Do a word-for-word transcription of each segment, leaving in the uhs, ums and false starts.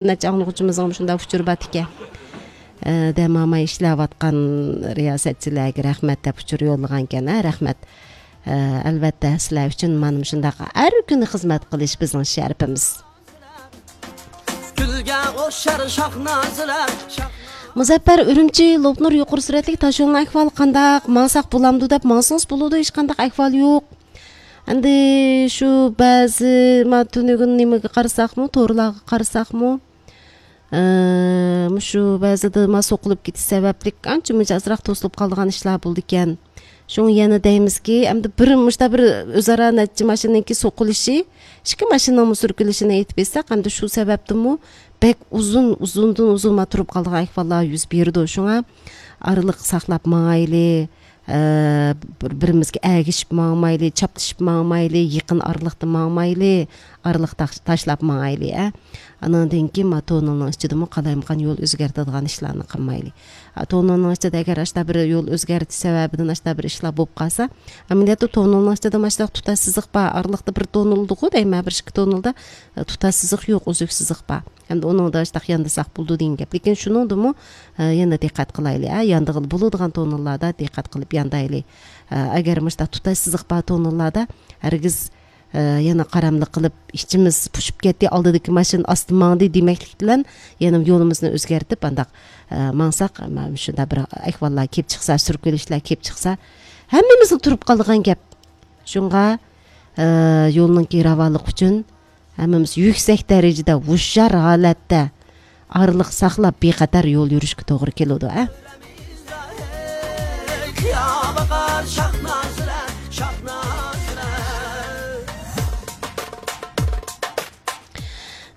نەچچە ئاڭلىغۇچىمىزنىڭ شۇنداق ئۇچۇرى بار ئىكەن. ئە، دەم ئالماي ئىشلەۋاتقان رىياسەتچىلەرگە رەھمەت دەپ ئۇچۇر يوللىغانىكەن، ھە، رەھمەت. ئە، ئەلۋەتتە، سىلەر ئۈچۈن مانا مۇشۇنداق ھەر كۈنى خىزمەت قىلىش بىزنىڭ شەرىپىمىز. گۈلگە ئوخشار شاھ نازلار، شاھ مۇزەپپەر ئۈرۈمچى، لوپنۇر يۇقىرى سۈرئەتلىك تاشيولنىڭ ئەھۋالى قانداق؟ ماڭساق بولامدۇ دەپ ماڭسىڭىز بولىدۇ، ھېچقانداق ئەھۋال يوق. ئەمدى شۇ بەزى، ما، تۈنۈگۈن نېمىگە قارىساقمۇ، تورلارغا قارىساقمۇ، ئە، مۇشۇ بەزىدە ما سوقۇلۇپ كېتىش سەۋەبلىك ئانچە مۇنچە ئازراق توسۇلۇپ قالىدىغان ئىشلار بولىدىكەن. شۇڭا يەنە دەيمىزكى، ئەمدى بىر مۇشتا بىر ئۆزئارا نەچچە ماشىنىنىڭكى سوقۇلۇشى، ئىككى ماشىنىنىڭمۇ سۈركىلىشىنى ئېيتىپ بەرسەك، ئەمدى شۇ سەۋەبتىنمۇ بەك ئۇزۇن، ئۇزۇندىن ئۇزۇن ما تۇرۇپ قالىدىغان ئەھۋاللار يۈز بېرىدۇ. شۇڭا ئارىلىق ساقلاپ ماڭايلى، ئە، بىر-، بىرىمىزگە ئەگىشىپ ماڭمايلى، چاپلىشىپ ماڭمايلى، يېقىن ئارىلىقتا ماڭمايلى، ئارىلىق تاش-، تاشلاپ ماڭايلى، ئە. ئانىڭدىن كېيىن ما توننېلنىڭ ئىچىدىمۇ قالايمىقان يول ئۆزگەرتىدىغان ئىشلارنى قىلمايلى. ئە، توننېلنىڭ ئىچىدە ئەگەر ئاشتا بىر يول ئۆزگەرتىش سەۋەبىدىن ئاشتا بىر ئىشلار بولۇپ قالسا، ئەمەلىيەتتە توننېلنىڭ ئىچىدە ماشۇنداق تۇتاش سىزىق بار، ئارىلىقتا بىر توننېلدىغۇ دەيمەن، بىر ئىككى توننېلدا، ئە، تۇتاش سىزىق يوق، ئۈزۈك سىزىق بار. ئەمدى ئۇنىڭدا شۇنداق ياندىساق بولىدۇ دېگەن گەپ. لېكىن شۇنىڭدىمۇ، ئە، يەنە دىققەت قىلايلى، ئە، ياندىغىلى بولىدىغان توننېللاردا دىققەت قىلىپ ياندايلى. ئە، ئەگەر مۇشۇنداق تۇتاش سىزىق بار توننېللاردا ھەرگىز، ئە، يەنە قاراملىق قىلىپ، ئىچىمىز پۇشۇپ كەتتى، ئالدىدىكى ماشىنا ئاستا ماڭدى دېمەكلىك بىلەن يەنە يولىمىزنى ئۆزگەرتىپ، ئانداق، ئە، ماڭساق، مانا شۇنداق بىر ئەھۋاللار كېلىپ چىقسا، سۈركىلىشلەر كېلىپ چىقسا، ھەممىمىزنىڭ تۇرۇپ قالىدىغان گەپ. شۇڭا، ئە، يولنىڭكى راۋانلىقى ئۈچۈن ھەممىمىز يۈكسەك دەرىجىدە ھوشيار ھالەتتە ئارىلىق ساقلاپ، بىخەتەر يول يۈرۈشكە توغرا كېلىدۇ، ئە.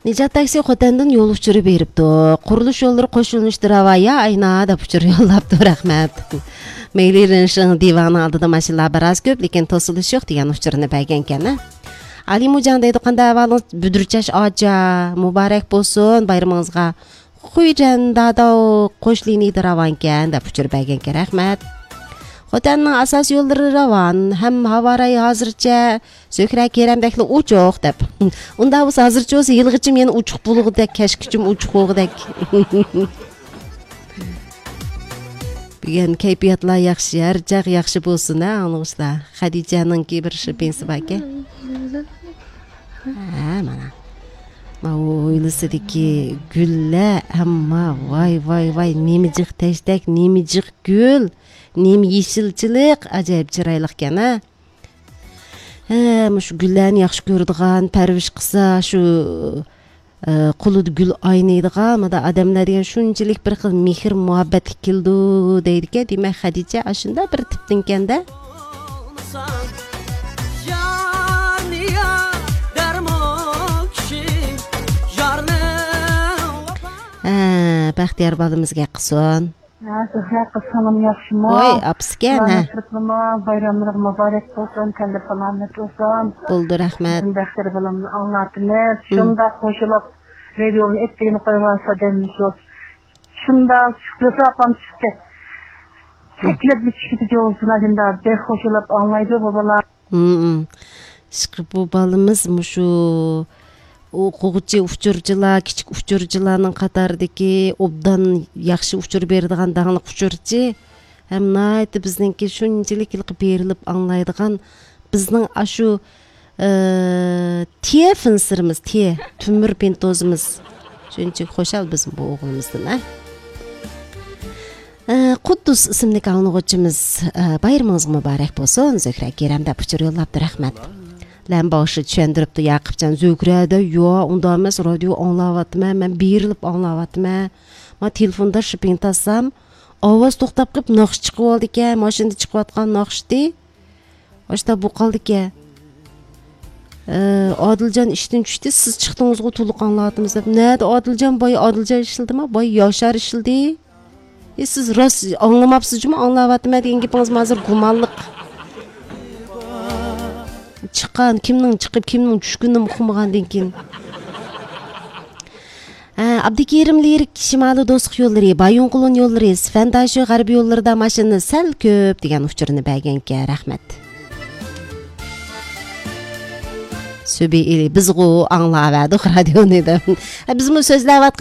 نىجات تاكسى خوتەندىن يول ئۇچۇرى بېرىپتۇ. قۇرۇلۇش يوللىرى قوشۇلۇشتۇ راۋا يا ئاينا دەپ ئۇچۇر يوللاپتۇ، رەھمەت. مېيلى رېنشىڭ دىۋانىڭ ئالدىدا ماشىنىلار بىراز كۆپ، لېكىن توسۇلۇش يوق دېگەن ئۇچۇرنى بەرگەنكەن، ھە. ئالىمۇجان دەيدۇ، قانداق ئەھۋالىڭىز بۈدۈرچاش ئاچا؟ مۇبارەك بولسۇن بايرىمىڭىزغا. خۇيجەن داداۋ قوش لىنىيىدە راۋانكەن دەپ ئۇچۇر بەرگەنكەن، رەھمەت. خوتەننىڭ ئاساسىي يوللىرى راۋان، ھەم ھاۋا رايى ھازىرچە زۆھرە كېرەمدەكلا ئوچۇق دەپ. ئۇنداق بولسا ھازىرچە بولسا يىلغىچىم يەنە ئوچۇق بولغۇدەك، كەچكىچىم ئوچۇق بولغۇدەك. بۈگۈن كەيپىياتلار ياخشى، ھەر چاغ ياخشى بولسۇن، ھە، ئاڭلىغۇچىلار. خەدىچەنىڭكى بىر شىپىنسى باركەن. ھە، مانا. ما ھويلىسىدىكى گۈللەر، ئەمما ۋاي، ۋاي، ۋاي، نېمە جىق تەشتەك، نېمە جىق گۈل، نېمە يېشىلچىلىق، ئاجايىپ چىرايلىقكەن، ھە. ھە، مۇشۇ گۈللەرنى ياخشى كۆرىدىغان، پەرۋىش قىلسا، شۇ ئە، قولىدا گۈل ئاينايدىغان مۇنداق ئادەملەر دېگەن شۇنچىلىك بىر خىل مېھىر مۇھەببەتلىك كېلىدۇ دەيدىكەن. دېمەك، خەدىچە ئاشۇنداق بىر تىپتىنكەندە. ھە، بەختىيار بالىمىز گەپ قىلسۇن. ھە، زۆھرە قىز، سىڭلىم ياخشىمۇ؟ ۋاي، ئاپىسىكەن، ھە. بايراملىرىڭ مۇبارەك بولسۇن، تەندە سالامەت بولسۇن. بولدى، رەھمەت. بىزنىڭ بەختىيار بالامنى ئاڭلاتىمىز. شۇنداق قوشۇلۇپ، رادىيونى ئېتىگىنى قويغان سادەممىز يوق. شۇنداق شۈكرى ئاپام چىقتى. تەكلىپ چىقتى جوزىنا، شۇنداق بەك قوشۇلۇپ ئاڭلايدۇ بۇ بالا. ھىم. ئىشقىلىپ بۇ بالىمىز مۇشۇ ئوقۇغۇچى ئۇچۇرچىلار، كىچىك ئۇچۇرچىلارنىڭ قاتارىدىكى ئوبدان ياخشى ئۇچۇر بېرىدىغان داڭلىق ئۇچۇرچى ھەم ناھايىتى بىزنىڭكى شۇنچىلىك ھېلىقى بېرىلىپ ئاڭلايدىغان بىزنىڭ ئاشۇ، ئى، تىيە فىنسىرىمىز، تىيە تۆمۈر پىنتوزىمىز شۇنچىلىك خۇشال بىزمۇ بۇ ئوغلىمىزدىن، ھە. ئە، قۇددۇس ئىسىملىك ئاڭلىغۇچىمىز، ئە، بايرىمىڭىز مۇبارەك بولسۇن، زۆھرە كېرەم دەپ ئۇچۇر يوللاپتۇ، رەھمەت. لەمباۋشى چۈشەندۈرۈپتۇ، ياقۇپجان، زۆھرە دە، يا، ئۇنداق ئەمەس، رادىيو ئاڭلاۋاتىمەن، مەن بېرىلىپ ئاڭلاۋاتىمەن. ما تېلېفوندا شىپىڭ تارتسام، ئاۋاز توختاپ قېلىپ، ناخشا چىقىۋالىدىكەن، ماشىنىدا چىقىۋاتقان ناخشىتى. ئاشتا بۇ قالدىكەن. ئە، ئادىلجان ئىشتىن چۈشتى، سىز چىقتىڭىزغۇ، تولۇق ئاڭلاۋاتىمىز دەپ. نەدە ئادىلجان؟ بايا ئادىلجان ئىشلىدىما؟ بايا ياشار ئىشلىدى. ئى، سىز راست ئاڭلىماپسىز جۇمۇ، ئاڭلاۋاتىمەن دېگەن گېپىڭىز ھازىر گۇمانلىق. چىققان، كىمنىڭ چىقىپ، كىمنىڭ چۈشكىنىنى ئۇقمىغاندىن كېيىن. ھە، ئابدۇكېرىم لىرىك، شىمالىي دوستلۇق يوللىرى، بايىنقولۇن يوللىرى، سىفەنداشى غەربىي يوللىرىدا ماشىنا سەل كۆپ دېگەن ئۇچۇرنى بەرگەنكەن، رەھمەت. سۈبى ئىلى بىزغۇ ئاڭلاۋەردۇق رادىيونى دەپ. بىزمۇ سۆزلەۋاتقان